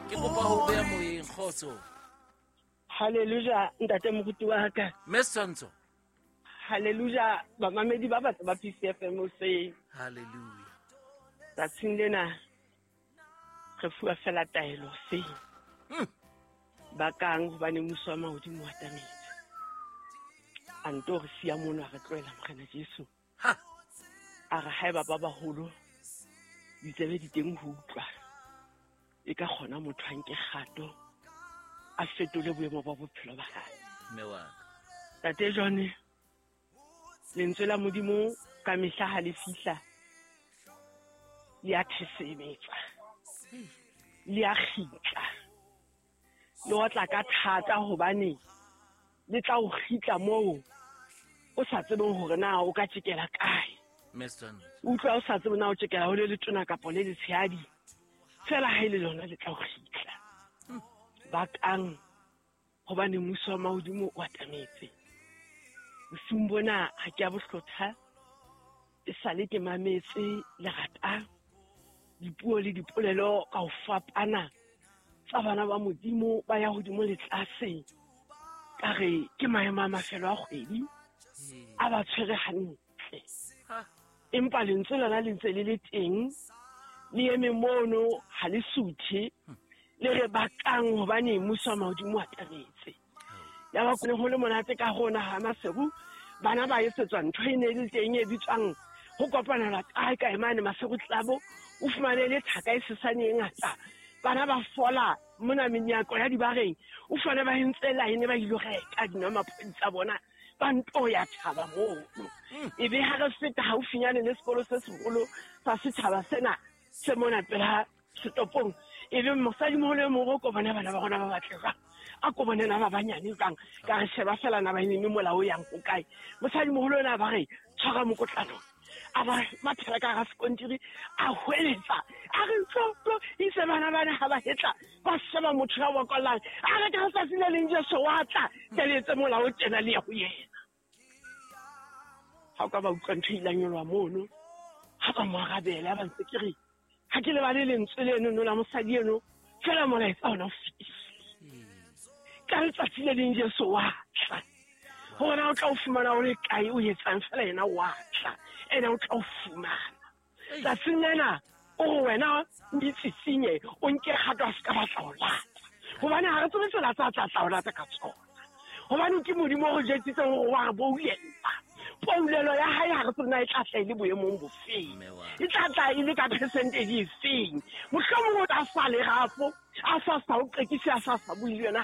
Ke kopa ho beya moyeng, kgotso. Hallelujah, ntate moruti wa ka. Mme Setshwantsho. Hallelujah, bamamedi ba batho ba PCFM hoseng. Hallelujah. Tsatsing lena re fuwa fela taelo hoseng. Bakang hobane mmuso wa mahodimo o atametse. A nto re siya mono a re tlohela Morena Jesu. Ha. A re haeba ba baholo ditsebe di teng ho utlwa, e ka kgona motho a nke kgato a fetole boemo ba bophelo ba hae. Mme wa ka. Tate John, lentswe la Modimo ka mehla ha le fihla le a thesemetsa, le a kgitla, le otla ka thata hobane le tla o kgitla moo o sa tsebeng hore na o ka tjekela kae. Mme Setshwantsho. Utlwa o sa tsebe na o tjekela ho le letona kapa le letshehadi, fela ha e le lona le tla o kgitla. Bakang hobane mmuso wa mahodimo o atametse. Bosiung bona ha ke a bohlotha, e sale ke mametse lerata, dipuo le dipolelo ka ho fapana tsa bana ba Modimo ba ya hodimo le tlase. Ka re ke maemo a mafelo a kgwedi a ba tshwere hantle, empa lentswe lona le ntse le le teng, le eme mono ha le suthe, le re bakang hobane mmuso wa mahodimo o atametse. Ya ba kone ho le monate ka rona ha Maseru, bana ba etsetswa ntho e ne e le teng e bitswang ho kopanelwa kae kae mane Maseru Club, o fumane le thaka e sesane e ngata, bana ba fola mona menyako ya dibareng, o fumane ba entse line ba ilo reka dinwamaphodi tsa bona, ba nto ya thaba mono. E be ha re feta haufinyane le sekolo se seholo sa setjhaba sena se mona pela setopong, e be mosadimoholo e mong o ko bona bana ba rona ba batle jwang, a ko bone na ba banyane jwang, ka re sheba fela na ba eme mola o yang ho kae. Mosadimoholo ona ba re tshwara mokotlana, a ba mathela ka hara sekontiri, a hweletsa a re tlo tlo itse bana bana ha ba hetla ba sheba motho ya bokollang, a re ka letsatsi le leng Jesu wa tla ke le etse mola o tjena le ya ho yena. Ha o ka ba utlwa ntho e ilang nyoloha mono, ha ba mo arabela, ba ntse ke re ha ke lebale lentswe leno no la mosadi eno, fela molaetsa ona o fetile. Ka letsatsi le leng Jesu wa tla, hore na o tla o fumana o le kae, o etsang fela yena wa tla, ene o tla o fumana. Tsatsing lena o re wena o itsitsinye, o nke kgato a se ka batla ho lata, hobane ha re tsebe tsela tsa tla tla o lata ka tsona, hobane ke Modimo o re jwetsitseng hore wa re boulella. Poulelo ya hae ha re tsebe na e tla tla e le boemong bofeng, e tla tla e le ka percentage efeng. Mohlomong o tla sa le rafo, a sa sa o qekise, a sa sa bue le yena.